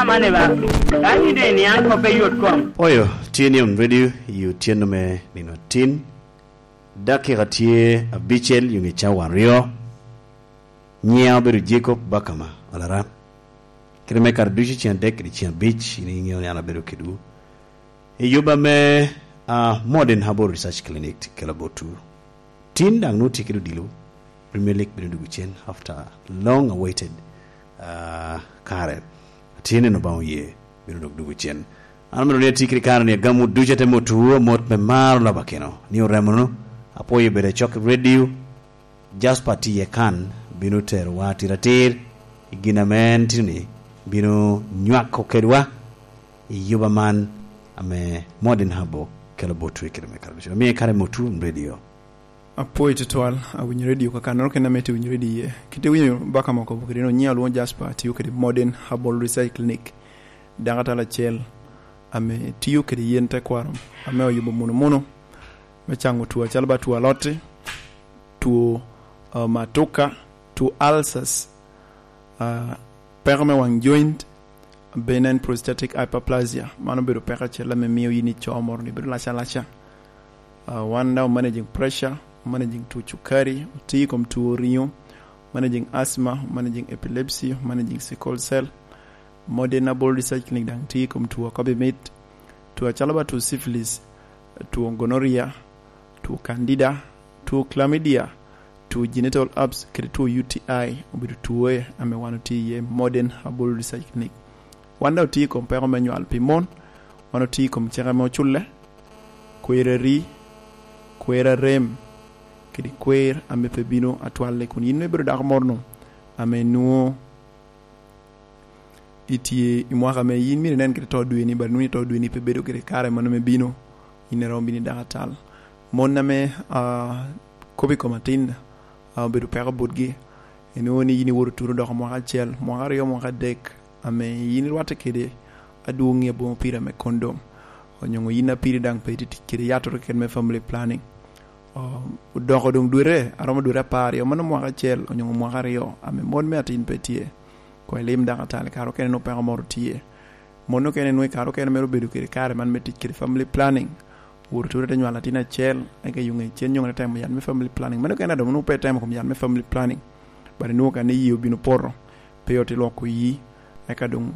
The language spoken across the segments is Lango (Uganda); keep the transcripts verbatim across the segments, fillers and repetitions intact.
Mane ba, ka yin doŋ iniaŋ kop i yot kom. Oyo, tye ni on ready, i otyeno me nino atin. Dakika tye abicel, yo ŋe cawa aryo. Nyiŋa obedo Jacob Bakama Alaran. Kite me kare ducu ceng adek kede ceng abic, in iŋeo ni an abedo kedwu. I yuba me, ah, Modern Herbal Research Clinic kela botwu. Tin daŋ nwoŋo tye kede odilo, Premier League bino dwogo cen after long awaited, ah, kare. Tin en Obaŋa oye, bino dok dwogo cen. An omito ni ati kede kare ni agam wot ducu atemo tuo mot me maro laba keno. Ni oremonu, apwoyo bedo acok i radio, Jasper tye kan, bino terowa atir atir i gin ame en tye ni bino nywako kedwa i yuba man ame Modern Herbal kelo botwu i kare me kare ducu. Omiyo kare motwu radio. Apwoyo tutwal, awinyo radio kakannoro kene ame tye winyo radio iye. Kite winyo baka moko kede no nyiŋa lwoŋo Jasper, atiyo kede Modern Herbal Research Clinic. Dakatala acel ame tio kede yen tekwaro ame oyubo muno muno me caŋo two acalo ba two alotti, two, uh, matuka, two ulcers, uh, peko me waŋ joint, benign prostatic hyperplasia. Mano obedo peko acel ame mio yin ico moro ni bedo lac alaca. Uh, wan daŋ managing pressure, managing two cukari, oti i kom two riŋo, managing asthma, managing epilepsy, managing sickle cell. Modern Herbal Research Clinic daŋ tye i kom two akobi mit, two acalo ba two syphilis, two gonorrhea, two candida, two chlamydia, two genital herpes, kede two U T I obedo two ame wan otye iye Modern Herbal Research Clinic. Wan daŋ otye i kom peko me nywal pi mon, wan otye i kom cik ame oculle, kwer ari, kwer arem, kede kwer ame pe bino atwalle. Kun yin ibedo dako moro-nu ame nwoŋo itye i mwaka ame yin myero inen kede to dweni, but nwoŋo to dweni pe bedo kede kare mano me bino, yin iromo bino i dako atal. Mon ame, ah, kop i kom atin, ah, obedo peko botgi, inwoŋo ni yin iwoto turu doko mwaka acel, mwaka aryo, mwaka adek, ame yin irwatte kede adwoŋ i aboŋo piri ame kondom, onyoŋo yin a piri daŋ pe itye tic kede yattoro keken me family planning. O, odoko doŋ dwete, aromo dwete apar aryo, mano mwaka acel, onyoŋo mwaka aryo, ame mon me atin pe tye. Koŋ ilim dako atal, kare okene nwoŋo peko moro tye. Mon okene nwoŋo i kare okene mere obedo kede kare man me tic kede family planning. Wot oture te nywalo atin acel, eka i ŋe cen nyoŋo te temo yat me family planning. Mano okene a doŋ nwoŋo pe itemo kom yat me family planning. But inwoŋo ka ni yie obino poto, pe oti lwoko yii. Eka doŋ,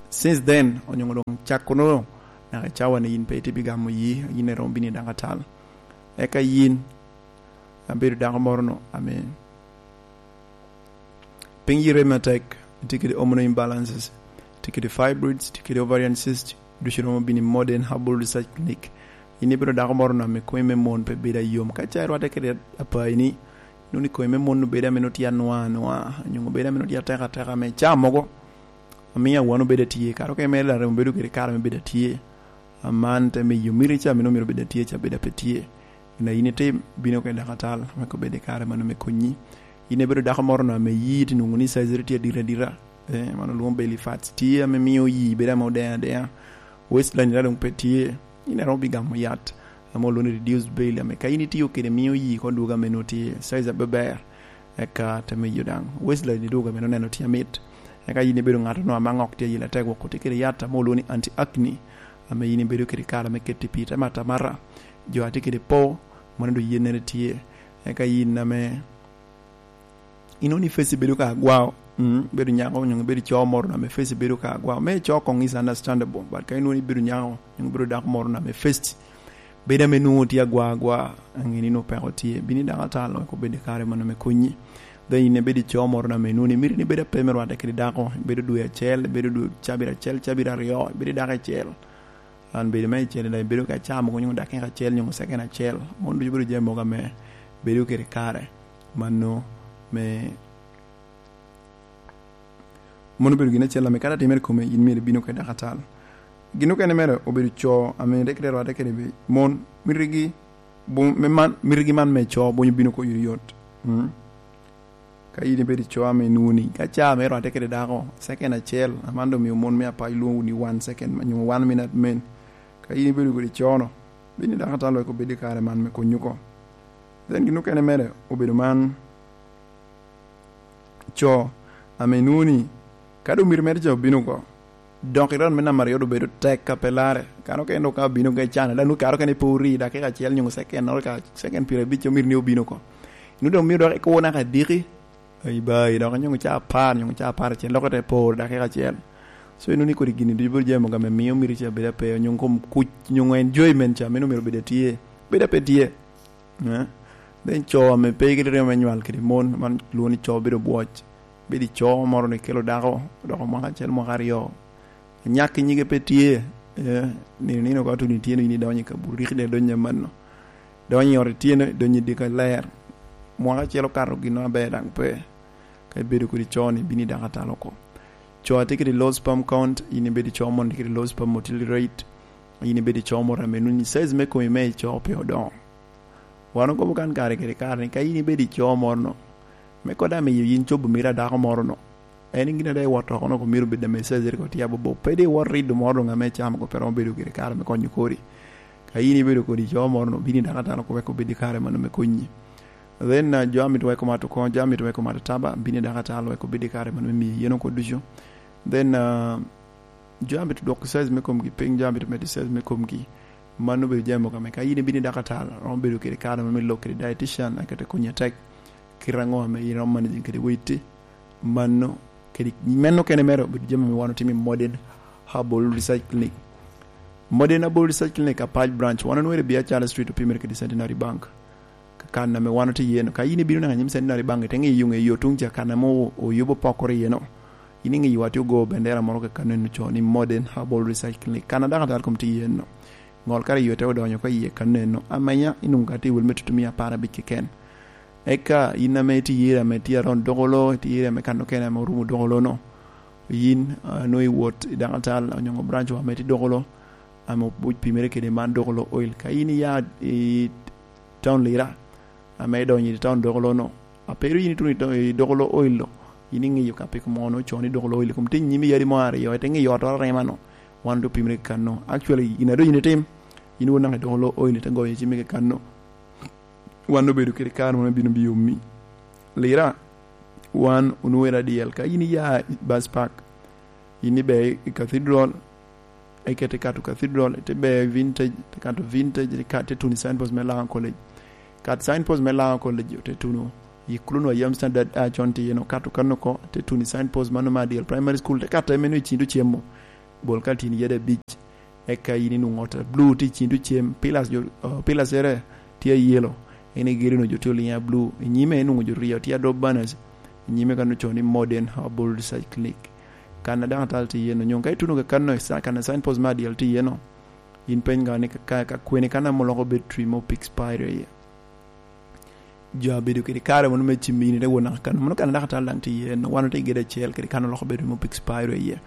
since then, onyoŋo doŋ cakko nwoŋo, naka i cawa ni yin pe itye bi gamo yii, yin iromo bino i dako atal. Eka yin, abedo dako moro-nu, ame piny yie rem atek, itye kede hormonal imbalances, itye kede fibroids, itye kede ovarian cyst, ducu romo bino i Modern Herbal Research Clinic. In ibedo dako moro-nu ame komi me mon pe bedo ayom. Ka ca irwatte kede apayi-ni, nwoŋo ni komi me mon obedo ame nwoŋo tye anwa anwa, onyoŋo obedo ame nwoŋo tye atek ateka ame ca mogo, amiyo awano bedo atye, kare okene mere larem obedo kede kare me bedo atye. Aman te miyo miti ca ame nwoŋo myero obed atye ca bedo ape tye. Gin a yin itim, bino oko i dako atal, wek obed i kare mano me konyi. Yin ibedo dako moro-nu ame yii tye nwoŋo ni size tye adit adita. Eh, mano lwoŋo belly fats. Tye ame mio yii bedo ame odeŋ adeŋa. Waistline ira doŋ pe tye. Yin iromo bi gamo yat ame olwoŋo ni reduced belly, ame ka yin itiyo kede mio yii ko dwogo ame nwoŋo tye size aber ber. Eka te miyo daŋ waistline idwogo ame noneno tye amit. Eka yin ibedo ŋat-nu ame aŋok tye i yila tek wok oti kede yat ame olwoŋo ni anti-acne, ame yin ibedo kede kare ame keti pii te matamata. Jo a tye kede po, mano doŋ yennere tye. Eka yin ame inwoŋo ni face bedo ka agwao, mm, bedo nyako onyo bedo co moro ame face bedo ka agwao. Me co koŋ is understandable, but ka inwoŋo ni bedo nyako onyo bedo dako moro ame face bedo ame nwoŋo tye agwa agwa, aŋeni nwoŋo peko tye. Bino i dako atal, wek obed i kare mano me konyi. Then in ibedo i co moro na me nwoŋo ni miti ni bedo ape me rwatte kede dako, ibedo dwe acel, ibedo dwe cabit acel, cabit aryo, ibedo i dako acel. An bedo me acel, daŋ ibedo ka caa mogo nyoŋo dakika acel, nyoŋo second acel. Mon ducu bedo jami mogo ame bedo kede kare. Mano me Mano obedo gin acel ame kadi atimere kome, in myero ibino kede dakatal. Gin okene mere obedo co ame rik te rwatte kede pi mon, mitigi bu-, me man, mitigi man me co bonyo bino oko yot yot. Mm. Ka in ibedo co ame inwoŋo ni, ka caa me rwatte kede dako, second acel, aman doŋ omio mon me apac lwoŋo wunu ni one second, nyo one minute men. Ka in ibedo kede co-no, bino i dakatal wek obed i kare man me konyi oko. Then gin okene mere obedo man, co ame inwoŋo ni ka doŋ miti mere ca obino oko, Dok i round me namba aryo doŋ bedo tek ka pe larre. Kano kene dok ka obino ka icane, dok nwoŋo kare okene pe ori, dakika acel nyo second, naka second pyerabic omito ni obino oko. Nwoŋo doŋ myero dok ikur naka adiki, i ba, i dok nyo ca apar, nyo ca apar acel, dok ite por dakika acel. So, inwoŋo ni kodi gini ducu bedo jami mogo ame mio mito ca bedo ape, nyo kom kuc, nyo enjoyment ca, meno myero bedo atye, bedo ape tye. Eh? Then co ame pe kede ryemo me nywal kede mon, man lwongo ni co bedo bwoc. Bedo i co moro ni kelo dako, odoko mwaka acel, mwaka aryo. Anyak i nyige pe tye, eh, nino nino ka tuno ityeno in idonyo i kabu, riki de donyo amanno. Donyo i ot ityeno, donyo i dika ler. Mwaka acel okato gin aber daŋ pe. Ka ibedo kodi co ni bino i dako atalo oko. Co atye kede low sperm count, in ibedo i co mon tye kede low sperm motility rate, in ibedo i co moro ame nuni size me komi me i co pe odoŋo. Wan okobo kan kare kede kare ni ka in ibedo i co moro no, me kod amiyo yin cobo mito a dako moro no, en gin ada iwot oko no, myero bed ame size rik otye abobo. Pe di iwot rido moro doŋ ame icamo ko pe romo bedo kede kare me konyo kori. Ka in ibedo kodi co moro no, bini dako atalo ko wek obed i kare mano me konyi. Then, uh, jo amito weko mato koŋ, jo amito weko mato taba, bini dako atalo wek obed i kare mano me miyo yen oko ducu. Then, uh, jo amito dwoko size me komgi piny, jo amito medo size me komgi. Mano obedo jami mogo ame ka in ibino i dako atalo, romo bedo kede kare mano me lok kede dietitian, akete konyi atek. Kit aŋo ame in iromo managing kede weight-ti? Mano kede, meno kene mere obedo jami ame wan otimo i Modern Herbal Research Clinic. Modern Herbal Research Clinic, Apac Branch, wan onwere i Biacara Street, opimere kede Centenary Bank. Ka kan ame wan otye iye-nu, ka in ibino naka anyim Centenary Bank, ite ŋeyo ŋeyo tuŋ ca kan ame o-, oyubo pokoro iye-no, in iŋeyo wa tye ogo bendera moro ka kan eno co ni Modern Herbal Research Clinic. Kan a dakatar kom tye iye-no. Ŋol kare yo te odonyo ka iye kan eno. Amenya, inwoŋo ka tye wel me tutumia apar abic keken. Eka in ame itye iri ame tye around dogolo, itye iri ame kan okene ame orumo dogolo-no, yin, ah, nwoŋo iwot i dakatal onyoŋo branch wa ame tye dogolo, ame obuc pimere kede man dogolo oil. Ka in iya i town Lira, ame idonyo i town dogolo-no, a pe ru yin ituno i to-, i dogolo oil-lo, yin iŋeyo ka piko mo nwoŋo co ni dogolo oil, kom tye nyimi yadi mo aryo, ite ŋeyo ot arema-no, wan otye opimere kano. Actually, in adonyo in itim, in wot naka i dogolo oil, ite goyo cimmi kano. Wan obedo kede kare mono bino bi omi. Lira, wan onwere adyel. Ka in iya i Bus Park, in ibe i Cathedral, ikete kato Cathedral, ite be i Vintage, ite kato Vintage, ite kat-, ite tuno i signpost me Lango College. Kat signpost me Lango College, ite tuno i Kuluno Yam Standard a con tye eno, kato kano oko, ite tuno i signpost mano me Adyel Primary School, ite kato emeno i cin tucemo. Bol ka tyen yade abic. Eka yin inwoŋo ot a blue tye i cin tucem, pillars jo, uh, pillars ere tye a yellow. En igedo no jo tye oliŋe a blue. I nyime inwoŋo jo ryo tye a drop banners. I nyime kan ocoo ni Modern Herbal Research Clinic. Kan a dakatal tye iye no, nyoŋ ka ituno ka kan no, sa-, kan a signpost me adyel tye iye no, in peny ŋa ni ka, ka, ka kwene kan ame oloko battery mo pe expire iye. Jo a bedo kede kare mono me cimmi in ite wot naka kano, mono kano dakatal daŋ tye iye, no wan otye i gedo acel kede kano loko bedo mo pe expire iye.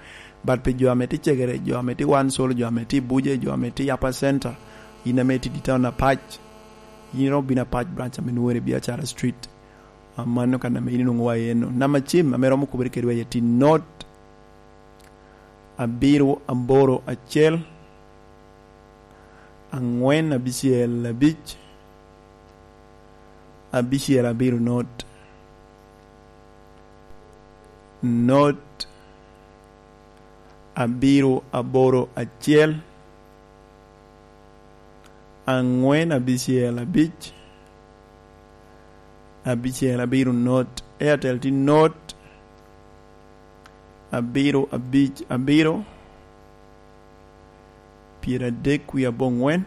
But pi jo ame tye cegere, jo ame tye wan solo, jo ame tye i Buje, jo ame tye i Upper Center, in ame tye i town Apac, in iromo bino Apac branch ame nwere i Biacara Street. Ah, mano kan ame in inwoŋo wa iye no. Namba cim ame romo kubere kedwa iye tye not abiro aboro acel, angwen abicel abic, abicel abiro not, not abiro aboro acel, angwen abicel abic, abicel abiro not. Airtel tye not abiro abic abiro, pyeradek wie abongwen,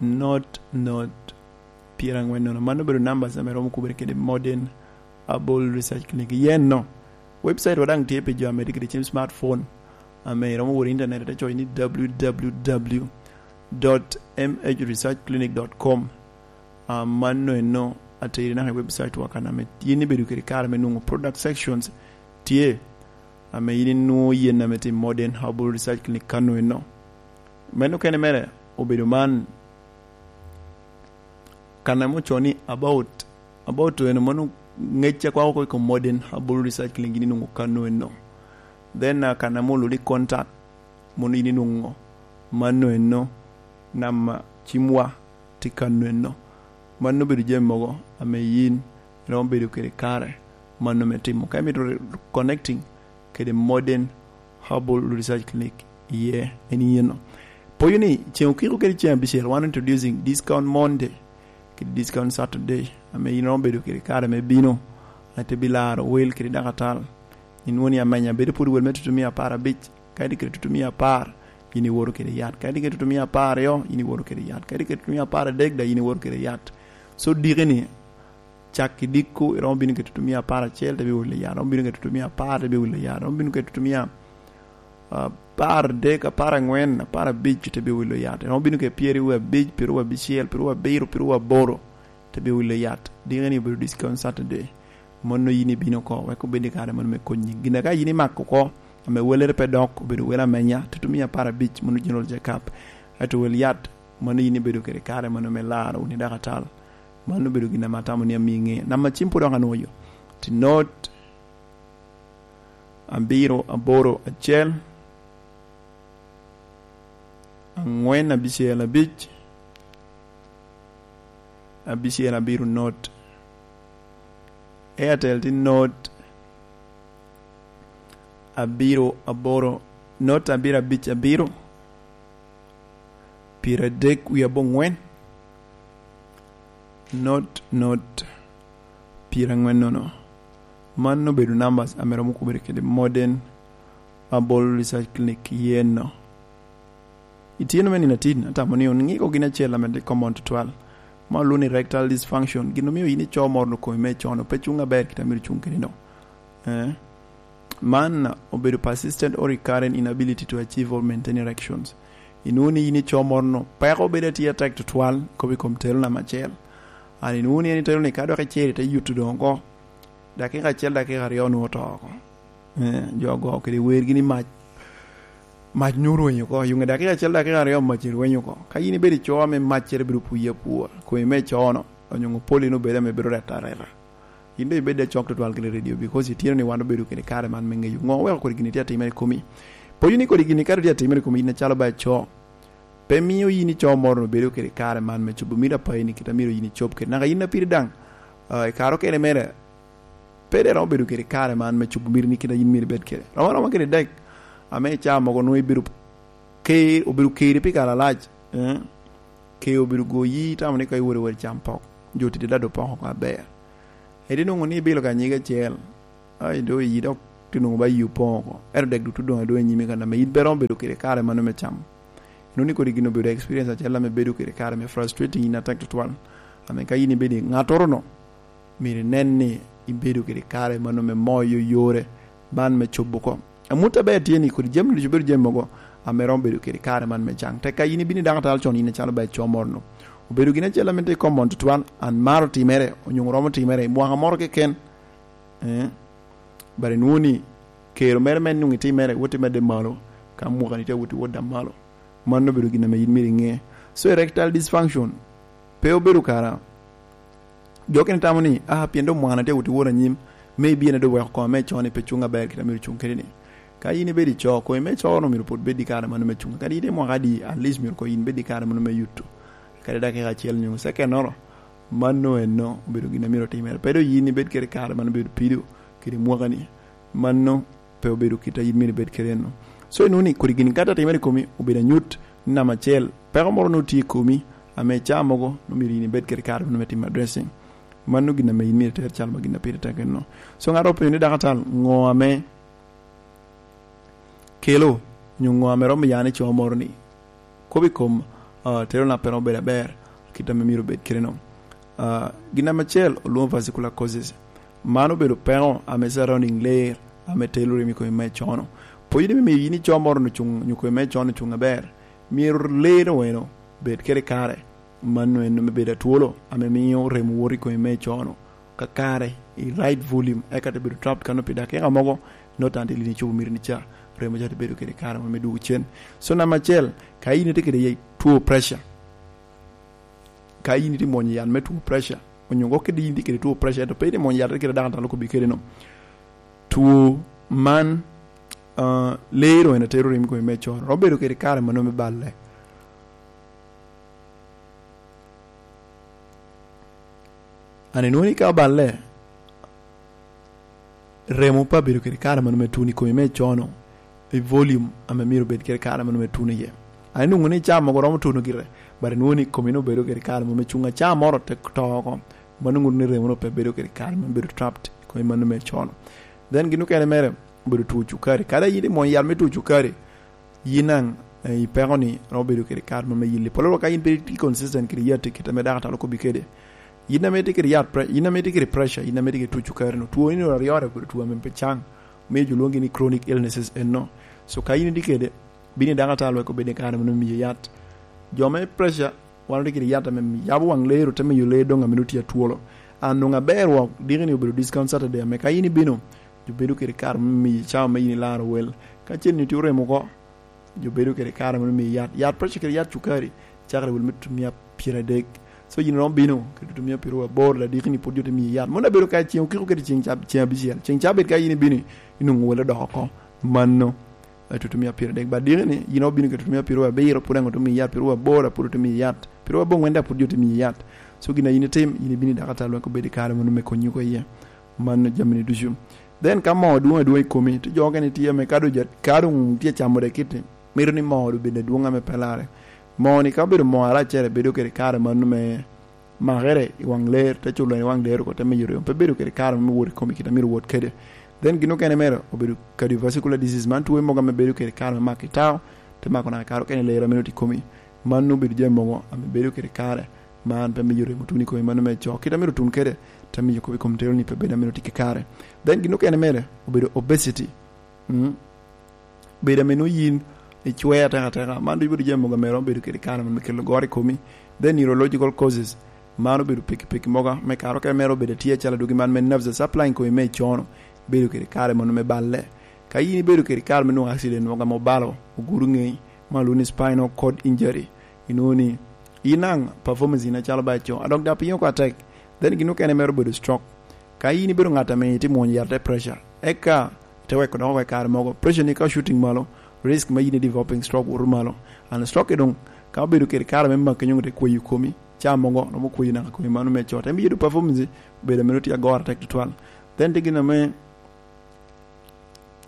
not, not, pyerangwen nono. Mano obedo numbers ame romo kubere kede Modern Herbal Research Clinic. Yen no, website wa daŋ tye pi jo ame tye kede cim smartphone, ame romo wot i internet, ite coyo ni www.mhresearchclinic.com. Ah, mano eno ateri naka i website wa kan ame yin ibedo kede kare me nwoŋo product sections tye, ame yin inwoŋo yen ame tye Modern Herbal Research Clinic kano eno. Meno kene mere obedo man, kan ame ocoo ni about, about eno, mano ŋec a kwako oko i kom Modern Herbal Research Clinic yin inwoŋo kano eno. Then, ah, kan ame olwoŋo ni contact, mono yin inwoŋo mano eno, namba cimwa tye kano eno. Mano obedo jami mogo ame yin iromo bedo kede kare mano me timo. Ka imito re-, connecting kede Modern Herbal Research Clinic iye en iyeno. Poyo ni ceŋ okiko kede ceŋ abicel, wan introducing discount Monday kede discount Saturday, ame in romo bedo kede kare me bino, ate bilaro wel kede dakatal. Inwoŋo ni amenya bedo pwod wel me tutumia apar abic, ka itye kede tutumia apar, in iwoto kede yat. Ka itye kede tutumia apar aryo, in iwoto kede yat. Ka itye kede tutumia apar adek, da in iwoto kede yat. So, diki ni, cak i dikku, iromo bino kede tutumia apar acel, te bi wilo yat. Iromo bino kede tutumia apar, te bi wilo yat. Iromo bino kede tutumia, ah, apar adek, apar angwen, apar abic, te bi wilo yat. Iromo bino kede pyeraryo abic, pyeraryo abicel, pyeraryo abiro, pyeraryo aboro, te bi wilo yat. Diki ni obedo discount Saturday. Mano yin ibino oko, wek obed i kare mano me konyi. Gin ka yin imako oko, ame welere pe dok, obedo wel amenya, tutumia apar abic, mano General Jacob. Ento wel yat, mano yin ibedo kede kare mano me laro wunu i dakatal. Mano obedo gin ame atamo ni amiŋe. Namba cim pwod dok anwoyo. Ti not abiro aboro acel, angwen abicel abic, abicel abiro not. Airtel ti not abiro aboro, not abiro abic abiro, pyeradek wie abongwen, not, not, pyerangwen nono. Man obedo numbers ame romo kubere kede Modern Herbal Research Clinic yeno. Itino me nino atin, atamo ni onŋiko gin acel ame tye common tutwal. Ma olwoŋo ni rectal dysfunction, gin omio yin ico moro no komi me cono pe cuŋ aber kit amiro cuŋ kede no. Eh? Man obedo persistent or recurrent inability to achieve or maintain erections. Inwoŋo ni yin ico moro no, peko bedo atye atek tutwal, kobo i kom telo namba acel. An inwoŋo ni en itelo ni ka dok icero ite yuto doŋ oko, dakika acel, dakika aryo onwoŋo oto oko. Eh, jo ogo kede wergi ni mac, mac nyo rwenyo oko. Yuŋe dakika acel, dakika aryo mac erwenyo oko. Ka yin ibedo ico ame maccere bedo puye apua, komi me cono, onyo poli no bedo ame bedo reta areta. Yin doŋ ibed acok tutwal kede redio, because itino ni wan obedo kede kare man me ŋeyo ŋo weko kodi gin itye atimere i komi. Poyo ni kodi gin ka tye atimere i komi, yin acalo ba ico. Pe mio yin ico moro obedo kede kare man me cobo mito apayi ni kit amiro yin icob kede. Naka yin apiri daŋ, ah, i kare okene mere, pe de romo bedo kede kare man me cobo mito ni kit a yin myero ibed kede. Romo aroma kede dek, ame i caa mogo nwoŋo ibedo ker, obedo keri pi kare alac, eh? Ker obedo goyi, itamo ni ka iwot iwot icam pok. Jo tidi dado pok oko aber. Edi nwoŋo ni ibilo ka nyige acel, ai, do iyi dok ti nwoŋo ba iyi opoŋ oko. Ento dek dutu doŋ adwoŋ i nyimi kan ame in pe romo bedo kede kare mano me cam. Inwoŋo ni kodi gin obedo experience acel ame bedo kede kare me frustrating in atek tutwal. Ame ka in ibedo i ŋattoro no, myero inen ni ibedo kede kare mano me moyo yore man me cobo oko. Amut aber tye ni kodi jami ducu bedo jami mogo ame romo bedo kede kare man me caŋ. Tek ka in ibino i dakatal con, in acalo ba ico moro no. Obedo gin acel ame tye common tutwal, an maro timere, onyo romo timere i mwaka moro keken. Eh? But inwoŋo ni kero mere me nwoŋo itimere, wot imedde malo, ka mwaka ni tye wot iwot daŋ malo. Mano obedo gin ame in myero iŋe. So, erectile dysfunction pe obedo kara. Jo okene tamo ni, "Ah, pien doŋ mwana tye wot iwot anyim, maybe en doŋ weko kome me con ni pe cuŋ aber kit a myero cuŋ kede ni." Ka in ibedo i co, komi me co no myero pwod bed i kare mano me cuŋ. Kadi in itye mwaka adi, at least myero koŋ in bed i kare mano me yuto. Kadi dakika acel nyo second oro, mano eno obedo gin a myero otimere. Pe doŋ in ibed kede kare mano bedo pido kede mwaka ni. Mano pe obedo kit a in myero ibed kede eno. So, inwoŋo ni kodi gin ka te timere i komi, obedo anyut ni namba acel, peko moro nwoŋo tye i komi, ame i caa mogo nwoŋo myero in ibed kede kare mano me timo addressing. Mano gin ame in myero iter calo ma gin a pire tek eno. So, ŋat openyo ni, "Dakatal, ŋo ame kelo, onyo ŋo ame romo ya ni co moro ni kobo i kom, ah, tero na pe romo bedo aber, kit ame myero obed kede no?" Ah, gin ame acel olwoŋo vascular causes. Mano obedo peko ame surrounding layer ame telo remo i komi me cono. Pwod ni me miyo yin ico moro ni cuŋ, onyo komi me cono cuŋ aber, myero layer weno bed kede kare. Mano en me bedo atwolo ame miyo remo woto i komi me cono kakare i right volume, eka te bedo trapped kano pi dakika mogo, not until in icobo miti ni ca, remo ca te bedo kede kare mo me dwogo cen. So, namba acel, ka in itye kede two pressure, ka in itye mwonyo yat me two pressure, onyo kede in itye kede two pressure, ento pe itye mwonyo yat kede dakatal okobbi kede no, two man, ah, lero en atero remo i komi me cono, romo bedo kede kare mano me balle. An inwoŋo ni ka oballe, remo pe abedo kede kare mano me tuno i komi me cono, i volume ame myero bed kede kare mano me tuno iye. An inwoŋo ni caa mogo romo tuno gire, but inwoŋo ni komi no bedo kede kare mo me cuŋ a caa moro te to oko. Mano ŋuto ni remo no pe bedo kede kare mo bedo trapped i komi mano me cono. Then gin okene mere obedo two cukari. Kadi yin imwony yat me two cukari, yin daŋ, eh, i peko ni romo bedo kede kare mo me yilli. Polo ka yin pe itye consistent kede yat i kite me dakatalo kobbi kede. Yin ame itye kede yat, pre-, yin ame itye kede pressure, yin ame itye kede two cukari no, two ni no aryo obedo two ame pe caŋ. Miyo jo lwongi ni chronic illnesses eno. So ka yin itye kede, bino i dakatalo wek obed i kare mano miyo yat. Jo me pressure, wan otye kede yat ame yabo waŋ ler, ote miyo ler doŋ ame nwoŋo tye atwolo. An doŋ aber wok, diki ni obedo discount Saturday ame ka yin ibino, jo bedo kede kare me miyo cawa me yin ilaro wel. Ka cen ni tye oremo oko, jo bedo kede kare mano miyo yat. Yat pressure kede yat cukari, cakere wel me tutumia pyeradek. So yin romo bino, kede tutumia pyeraryo aboro, ladiki ni pwod jo te miyo yat. Mano abedo ka ceŋ okiko kede ceŋ cab-, ceŋ abicel. Ceŋ cabit ka yin ibino, inwoŋo wel odoko oko. Mano, eh, tutumia pyeradek. Ba diki ni, yin obino kede tutumia pyeraryo abiro, pwod aŋo te miyo yat, pyeraryo aboro, pwod te miyo yat. Pyeraryo aboro ŋwen daŋ pwod jo te miyo yat. So gin a yin itim, yin ibino i dakatalo wek obed i kare mano me konyi oko iye. Mano jami ni ducu. Then ka moo dwoŋ adwoŋ i komi, ti jo okene tye ame ka doŋ ja-, ka doŋ tye camo dek kiti, mito ni moo doŋ bed adwoŋ ame pe larre. Moo ni ka obedo moo aracere, bedo kede kare mano me makere i waŋ ler, te culo i waŋ ler oko, te miyo remo, pe bedo kede kare me wot i komi kit a myero wot kede. Then gin okene mere obedo cardiovascular disease, man two mogo ame bedo kede kare me mako i tao, te mako naka kare okene ler ame nwoŋo tye i komi. Mano obedo jami mogo ame bedo kede kare, man pe miyo remo tun i komi mano me co. Kit a myero tun kede, te miyo komi kom tero ni pe bedo ame nwoŋo tye kede kare. Then gin okene mere obedo obesity. Mm. Bedo ame nwoŋo yin icweo ateka ateka, man ducu bedo jami mogo ame romo bedo kede kare me kelo goro i komi. Then neurological causes, man obedo pikipiki mogo me kare okene mere obedo atye acalo dwogi man me nerves supplying komi me cono, bedo kede kare mano me balle. Ka yin ibedo kede kare me nwoŋo accident mogo ame obalo ogudo ŋeyi, ma lwongo ni spinal cord injury, inwoŋo ni yin daŋ performance yin acalo ba ico, a dok daŋ pinyo oko atek. Then gin okene mere obedo stroke. Ka yin ibedo ŋat ame itye mwonyo yat te pressure, eka te weko dok oko i kare mogo. Pressure ni ka shooting malo, risk me yin i developing stroke woto malo. And stroke i doŋ, ka obedo kede kare me maki nyoŋ te kweyo komi, caa mogo romo kweyo naka komi mano me cot. Emiyo do performance bedo ame tye agoro atek tutwal. Then te gin ame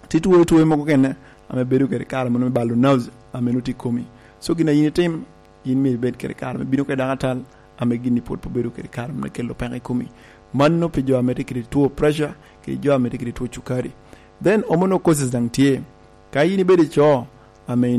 tye two, two mogo kene ame bedo kede kare mano me balo nerves ame nwoŋo tye i komi. So gin a yin itim, yin myero ibed kede kare me bino kede dakatal ame gin ni pwod pe obedo kede kare me kelo peko i komi. Mano pi jo ame tye kede two pressure, kede jo ame tye kede two cukari. Then hormonal causes daŋ tye. Ka yin ibedo i co ame